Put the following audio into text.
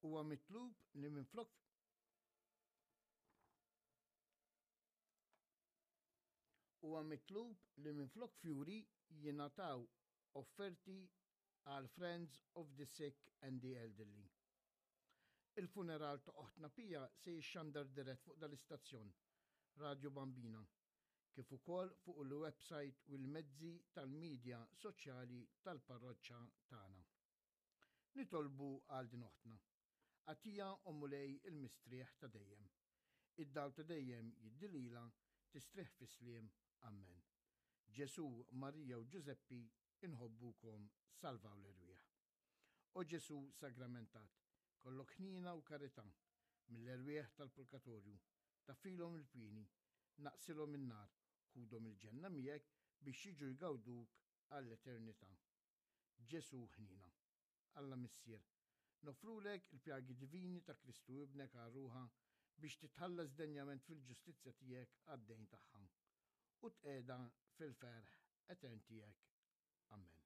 Huwa mitlub li minflok Huwa mitlub li minflok fjuri jingħataw offerti għal Friends of the Sick and the Elderly. Il-funeral ta' oħtna Pia se jixxandar dirett fuq dal-istazzjon, Radio Bambina, kif ukoll fuq il-website u l-mezzi tal-midja soċjali tal-parroċċa tagħna. Nitolbu għal din oħtna. Agħtiha, o Mulej, il-mistrieħ ta' dejjem. Id-dawl ta' dejjem jiddi lilha, tistrieħ fis-sliem. Ammen. Ġesù, Marija u Ġużeppi, inħobbukom, salvaw l-erwieħ. O Ġesù sagramentat, kollok ħniena u karità, mill-erwieħ tal-purgatorju, taffilhom il-pieni, naqsilhom in-nar, ħudhom il-ġenna miegħek biex jiġu jgawduk għall-eternità. Ġesù ħniena. Alla Missier, noffrulek il-pjagi divini ta' Kristu Ibnek għal ruħha biex titħallas denjament fil-ġustizzja tiegħek għad-dejn tagħha u tqiegħda fil-ferħ etern tiegħek. Amen.